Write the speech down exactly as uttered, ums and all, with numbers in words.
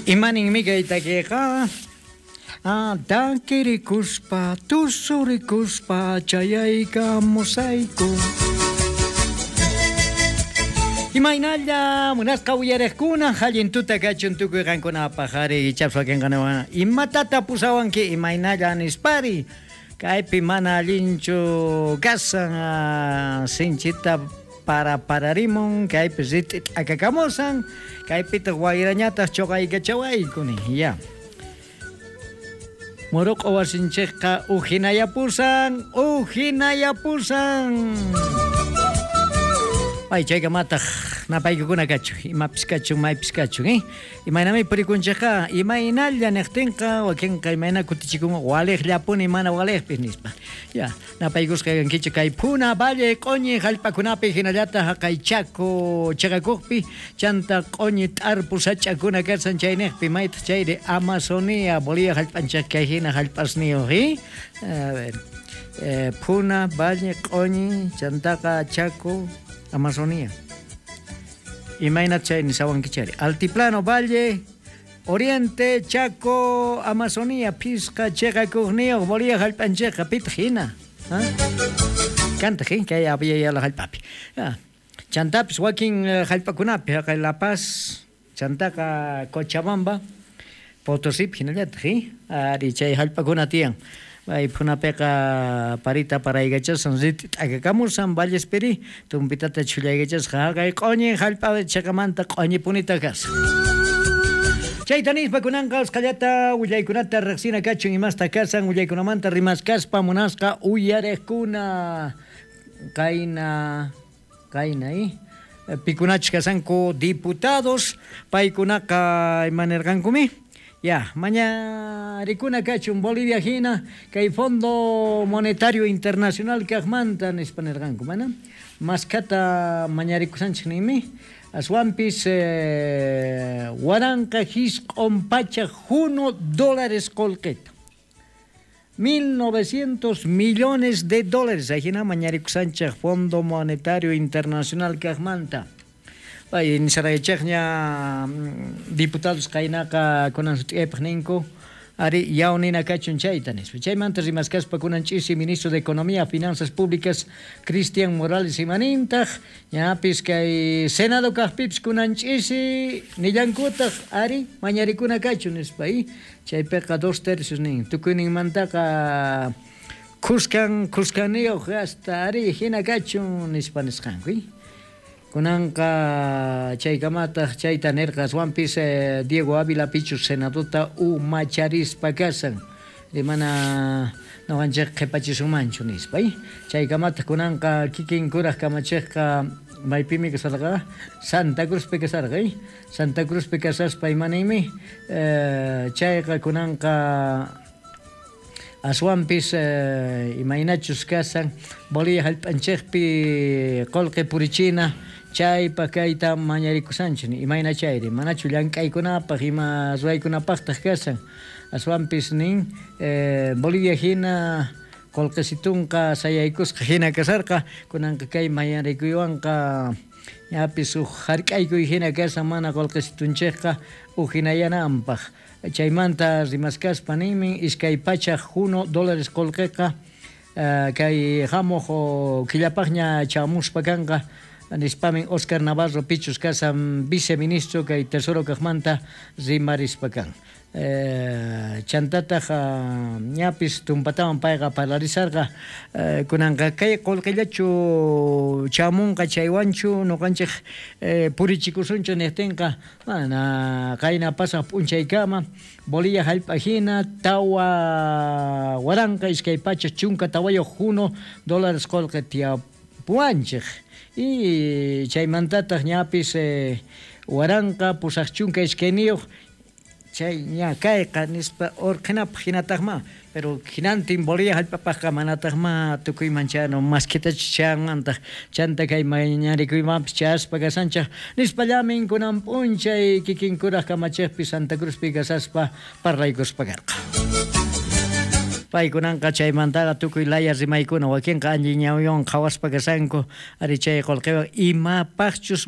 Imaninmi kay takiqa? Ah, takirikuspa, tusurikuspa, chayaykamusayku. Imaynalla munasqa uyariqkuna allin tuta kachun tukuy qankunapaq ari ichapas wakinqanawan imatata pusawanki imaynalla nispari kaypi mana allinchu kasan ah, sinchita para pararimun kaypi rit'i t'akakamusan kaypitaq wayrañataq chuqaykachawayku nin ya. Muruq'u wasinchikqa ujinayapusan ujinayapusan. Ay, chaykamataq napaykukuna kachun, imapis kachun, maypis kachun, eh? Imaynami purikunchikqa, imaynalla niqtinqa, wakinqa imayna kutichikun waliqllapuni mana waliqpis nispa. Ya, napaykusqa kankichik kay Puna Valle q'uñi hallp'akunapi hinallataq haqay Chaco chiqakuqpi, chanta q'uñi t'arpu sach'akuna kasan chayniqpi, maytaq chayri Amazonía, Bolivia hallp'anchik kay hina hallp'asniyuq, eh? A ver, eh, Puna, Valle, q'uñi, chantaqa Chaco, Amazonía. Imayna chay nisawankichari. Altiplano, Valle, Oriente, Chaco, Amazonía, Pisqa, chiqakuqniyuq, Bolivia hallp'anchikqa pitaq hina. ¿Ah? Kantaq, eh? Kay apiyayala hallp'api. Ah. Chantapis wakin eh, hallp'akunapi, haqay La Paz, chantaqa Cochabamba, Potosí hinallataq, eh? Ari chay hallp'akuna tiyan. Ay Punapiqa parita paraykachashan rit'i t'akakamusan Vallespiri tumpitata chhullaykachasqa haqay q'uñi hallp'a chiqamanta q'uñipunita kasan. Chayta nispa kunanqa usqhallata willaykunata riqsina kachun imasta kasan willaykunamanta rimaskaspa munasqa uyariqkuna qayna qayna eh? Pikunachus kasanku diputados paykunaqa imanirqankumi. Ya, mañarikuna kachun Bolivia hina kay Fondo Monetario Internacional kaqmanta nispa nirqanku mana maskata mañarikusanchik ninmi aswanpis eh, waranqa hisq'un pachak hunu dólares qullqita mil novecientos millones de dólares ahina mañarikusanchik Fondo Monetario Internacional kaqmanta. Ay, nisaraychikña diputados qaynaqa kunan sut'iypaq ninku ari yawnina kachun chayta nispa. Chaymanta rimaskaspa kunan ch'isi ministro de Economía, Finanzas Públicas Cristian Morales imanintaq ñapis kay Senado kaqpipis kunan ch'isi nillankutaq ari mañarikuna kachun nispa y chaypiqa dos tercios nin tukuyninmantaqa khuskan khuskaniyuq hasta ari hina kachun nispa nisqanku y kunanqa chaykamataq chayta nirqa aswanpis eh, Diego Ávila pichus senadota umacharispa kasan rimana nuqanchik qhipachisunmanchu nispa y chaykamataq kunanqa kikin kuraq kamachiqqa maypimi kasarqa Santa Cruzpi kasarqa y Santa Cruzpi kasaspa imaniymi eh, chayqa kunanqa aswanpis eh, imaynachus kasan Bolivia hallp'anchikpi qullqi purichina chaypa kayta mañarikusanchik imayna chayri manachu llank'aykunapaq ima ruwaykunapaqtaq kasan aswanpis nin eh, Bolivia hina qullqisitunqa sayaykusqa hina kasarqa kunanqa kay mañarikuywanqa ñapis huk hark'aykuy hina kasan mana qullqisitunchikqa uhinayananpaq chaymanta rimaskaspa ninmi iskay pachak hunu dólares qullqiqa uh, kay hamuq killapaqña chamuspa kanqa nispamin Oscar Navarro pichus kasan viceministro kay Tesoro kaqmanta rimarispa kan. Eh, chantataq uh, ñapis tumpatawan payqa parlarisarqa eh, kunanqa kay qullqillachu chamunqa chaywanchu nuqanchik eh, purichikusunchu niqtinqa mana qayna pasaq p'unchaykama Bolivia hallp'a hina tawa waranqa iskay pachak chunka tawayuq hunu dólares qullqi tiyapuwanchik y chaymantataq ñapis eh, waranqa pusaq chunka iskayniyuq chay ña kayqa nispa urqhinapaq hinataqma pero hinantin Bolivia hallp'apaqqa manataqma tukuyman chayanu maskitachu chanmantaq chanta kay mañarikuymanpis chayaspa kasanchik nispallamin kunan p'unchay kikin kuraq kamachiqpi Santa Cruzpi kasaspa parlaykuspa karqa. Paykunanqa chaymantaqa tukuy laya rimaykuna wakinqa allin ñawiywan qhawaspa kasanku ari chay qullqiwan imapaqchus